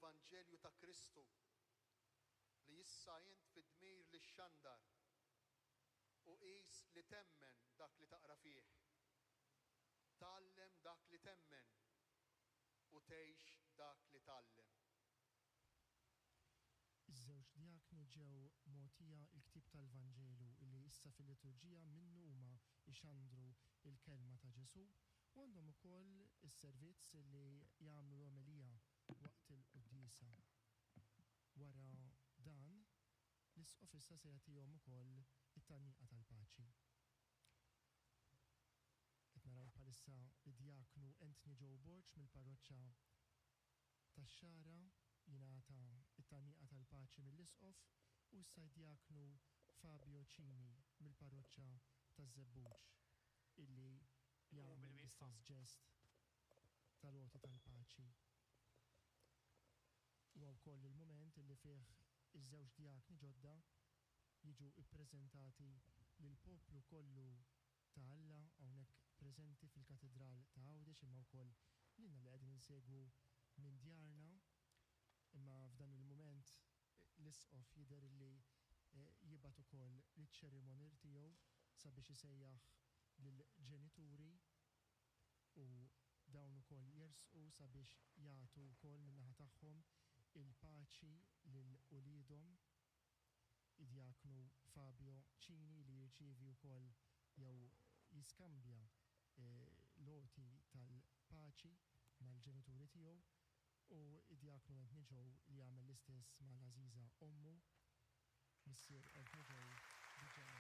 l-Evanġelju ta' Kristu li issa int fid-dmir li xxandar u qis li temmen dak li taqra fih. Tgħallem dak li temmen u tgħix dak li tgħallem. Iż-żewġ djakni ġew mogħtija l-ktieb tal-Vanġelu li issa fil-liturġija minnu huma jxandru l-kelma ta' Ġesù u għandhom ukoll is-servizz li jagħmlu l-omelija waqt il-quddiesa. Wara dan, l-Isqof issa se jagħtihom ukoll it-tgħanniqa tal-paċi. Qed naraw bħalissa lid-djaknu Anthony Joe Borg mill-parroċċa tax-Xagħra jingħata t-tgħanniqa tal-paċi mill-Isqof u issa d-djaknu Fabio Cini mill-parroċċa taż-Żebbuġ illi Inqumu jagħmel bilwieqfa. l-istess ġest tal-għoti tal-paċi. Huwa wkoll il-mument illi fih iż-żewġ djakni ġodda jiġu ppreżentati lill-poplu kollu ta' Alla hawnhekk preżenti fil-Katidral ta' Għawdex imma wkoll lilna li qegħdin insegwu minn djarna. Imma f'dan il-mument l-Isqof jidher li jibgħat ukoll liċ-ċerimonier tiegħu sabiex isejjaħ lill-ġenituri u dawn ukoll jersqu sabiex jagħtu wkoll min-naħa tagħhom il-paċi lil uliedhom. Id-Djaknu Fabio Cini li jirċievi wkoll jew jiskambja l-għoti tal-paċi mal-ġenituri tiegħu u d-Djaknu Anthony Joe li jagħmel l-istess mal-għażiża ommu. Missier Anthony Joe diġà.